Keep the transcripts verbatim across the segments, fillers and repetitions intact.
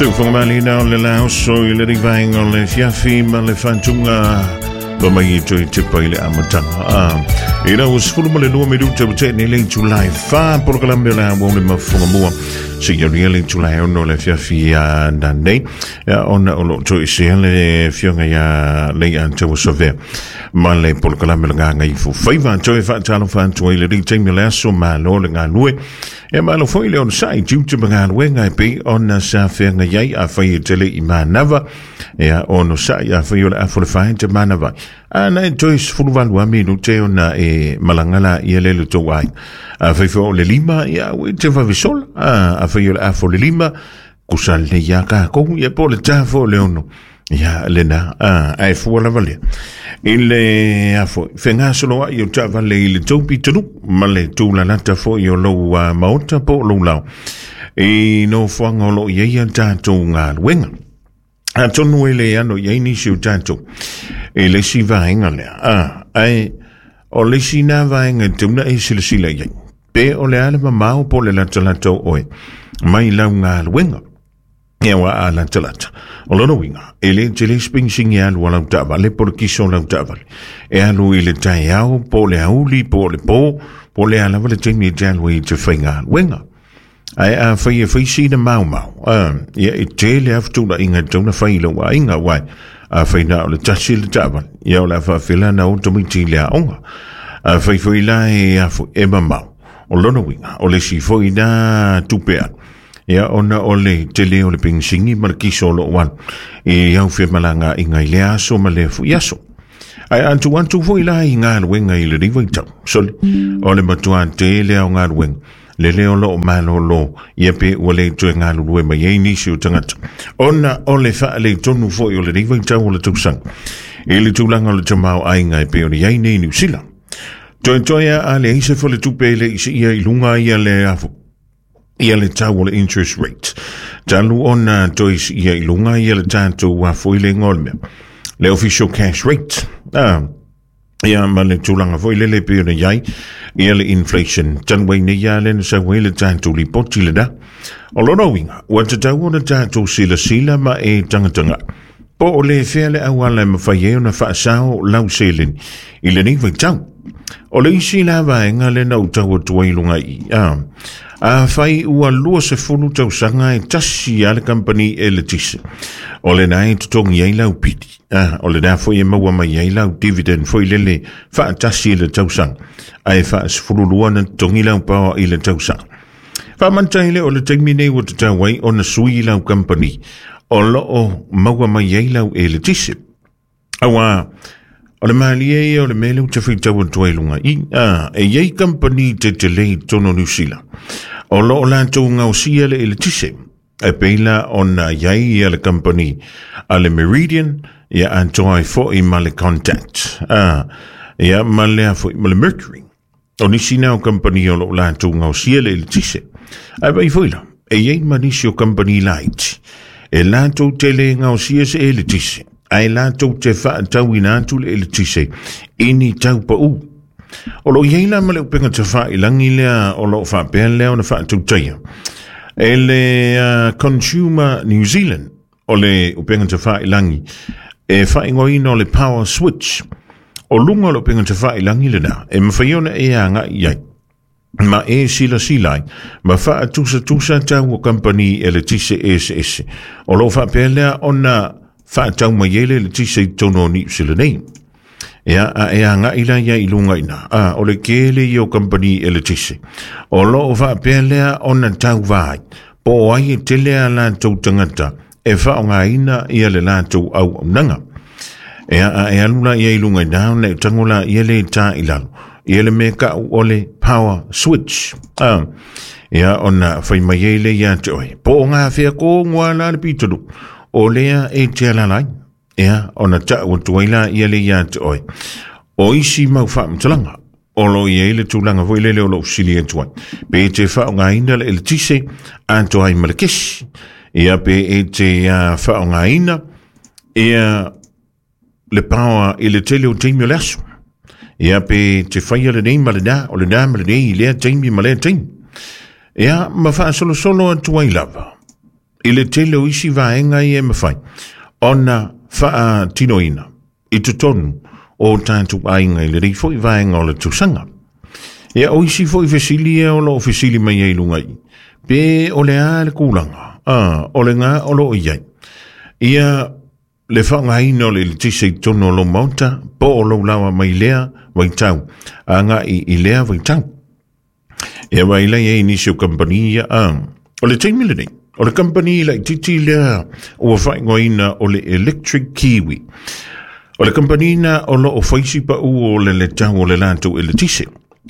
Seufagamaliina o le laoso i le vaega o le afiafi ma le faatuga ma mai e toe tepa i le amataga. Ah, ina ua sefulu ma le lua minuta ua tea nei le itula e fa, polokalame o le a ua le mafugamua seia aulia le itula e ono o le afiafi nanei, ona o loo toesea le afioga ia Leiataua Savea ma le polokalame o le Gagaifo Faiva. Toe faatalofa atu ai i lenei taimi o le aso. Malo le galue e, malo foi le onosai tiute ma galuega e pei ona sa feagai ai. Afai e tele i manava, ia onosai. Afai o le afo le fae te manava ana e toe sefulu valu a minute ona e malaga la ia le le tou ai. Afai foi o le lima, ia ua te vavesola. Afai o le afo le lima, kusa lelei ia kakou, ia po o le ta fo o le ono, ia lena ae fua lava lea i le afo fegasoloa'i o taavale i le tou pitonu ma le tulalata fo'i o lou maota po o lou lao i nofoaga o loo i ai a tatou galuega. Atonu e le ano i ai nisi o tatou i le isi vaega lea, ae o le isi na vaega e tauna e silasila i ai pe o le a le mamao po o le latalata o oe mai lau galuega. Ia ua a latalata, o lona uiga e le tele se penisini e alu a lau taavale po o le kiso o lau taavale e alu i le taeao po o le auli po o le po po o le a lava le taimi e te alu ai i te faigaluega. Ae afai e fai sina maomao, ia e tele lava fetuunaiga e tatau ona fai i lou aiga, uae afai na o le tasi le taavale, ia o le a faafela na o tamaiti i le aoga. Afai foi la e afo e mamao, o lona uiga o le isi foi na tupe alu, ia ona o le tele o le penisini ma le kiso o loo alu i au femalagaaiga i lea aso ma lea foi aso. Ae atu atu foi la i galuega i lenei vaitau, sole, o le matuā tele ao galuega lele o loo malōlō, ia pe ua le toe galulue mai ai nisi o tagata ona o le faaletonu foi o lenei vaitau o le tausaga i le tulaga o le tamaoaiga e pei ona i ai nei Niu Sila. Toetoe a leai se faletupe e le i siia i luga ia le afo ia le tau o le interest rate talu ona toe siia i luga ia le tatou afo i le igoa o le mea le official cash rate, ah, ia ma le tulaga foi lele pei ona i ai ia le inflation talu ai nei a le na sau ai le tatou lipoti lena. O lona uiga ua tatau ona tatou silasila ma e tagataga po o le fea le auala e mafai ai ona faasao lau seleni i lenei vaitau. O le isi la vaega lena ua tau atu ai i luga i i, afai ua lua sefulu tausaga e tasi a le kamupani eletise o lena e totogi ai lau pili, o lena foi e maua mai ai lau dividend foi lele faatasi i le tausaga, ae faasefululua na totogi lau power i le tausaga, faamanta ai lea o le taimi nei ua tatau ai ona sui lau kamupani o loo maua mai ai lau eletise. Auā o le malie ia o le mea lea ou te faitau atu ai i luga i a e i ai kamupani tetele i totonu o Niu Sila o loo latou gaosia le eletise e pei la ona i ai ia le kamupani a le Meridian, ia atoa ai fo'i ma le Contact, a ia ma lea fo'i ma le Mercury. O nisi na o kamupani o loo latou gaosia le eletise. Ae vaai foi la e i ai ma nisi o kamupani laiti e latou te le gaosia se eletise, ae latou te faatauina atu le eletise i ni tau paū. O loo i ai la ma le upega tafailagi lea o loo faapea lea ona faatautaia e le uh, Consumer New Zealand, o le upega tafailagi e faaigoaina o le Power Switch. O luga o le upega tafailagi lena e mafai ona e agai i ai ma e silasila ai ma faatusatusa tau o kamupani eletise eseese o loo faapea lea ona faatau mai ai le eletise i totonu o Niu Sila nei. Ia a e agai la ia i luga i ina, a o le kele ia o kamupani eletise o loo faapea lea ona tauvā ai po o ai e tele a latou tagata e faaaogaina ia le latou auaunaga. Ia a e alu la ia i luga i ina ona e tago la ia le tā i lalo ia le mea ka'u o le Power Switch, a ia ona fai mai ai le ia te oe po o gafea kogoa la le pitolu o lea e te alaala ai. Ia ona ta'u atu ai la ia le ia te oe o isi mau faamatalaga o loo i ai le tulaga foi lele o lou fesili atu ai pe te faaaogaina le eletise atoa ai ma le kesi, ia pe e te faaaogaina ia le power i le tele o taimi o le aso, ia pe te faia lenei ma lenā o lenā ma lenei i lea taimi ma lea taimi, ia ma faasolosolo atu ai lava. I le tele o isi vaega ia e mafai ona faatinoina i totonu o tatou aiga i lenei foi vaega o le tausaga. Ia o isi foi fesili ia o loo fesili mai ai i luga i pe o le a le kulaga a o le gā o loo i ai ia le faaaogaina o le eletise i totonu o lou maota po o lou lawa mai lea vaitau agai i lea vaitau. Ia vai lai ai nisi o kamupani ia a o le taimi lenei o le kamupani laitiiti lea ua faaigoaina o le Electric Kiwi. O le kamupani na o loo faisi pau o le letau o le latou eletise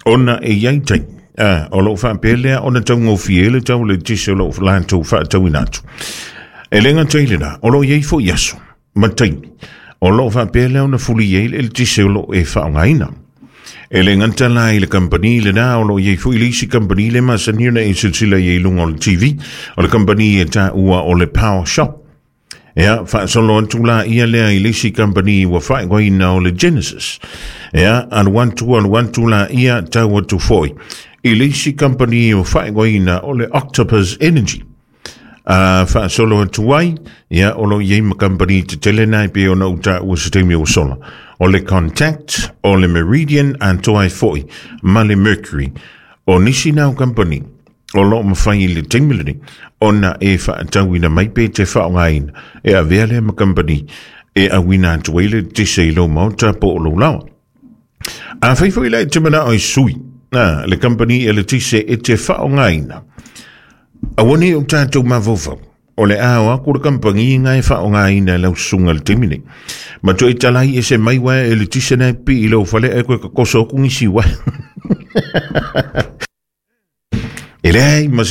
ona e iai taimi a o loo faapea lea ona taugofie le tau o le eletise o loo latou faatauina atu. E le gata i lena, o loo iai foi aso ma taimi o loo faapea lea ona fuli ai le eletise o loo e faaaogaina. E le gata la i le kamupani lena, o loo iai foi le isi kamupani le masani ona e silasila i ai i luga o le T V, o le kamupani e taua o le Power Shop. Ia, faasolo atu la ia lea i le isi kamupani ua faaigoaina o le Genesis. Ia, alu atu alu atu la ia tau atu foi i le isi kamupani ua faaigoaina o le Octopus Energy. A faasolo atu ai, ia, o loo iai ma kamupani tetele na e pei ona ou taua se taimi ua sola. O le Contact, o le Meridian, atoa ai foi ma le Mercury. O nisi na o kamupani o loo mafai i le taimi lenei ona e faatauina mai pe te faaaogaina e avea lea ma kamupani e auina atu ai le eletise i lou maota po o lou lawa. Afai foi la e te manao i sui a le kamupani eletise e te faaaogaina, aua nei o tatou mafaufau o le a o aku le kamupani nga e faaaogaina e lau susuga i le taimi nei. Ma toe talai ese mai uaea eletise na e pipii i lou fale ae koe kokoso aku nisi uaea. E leai ma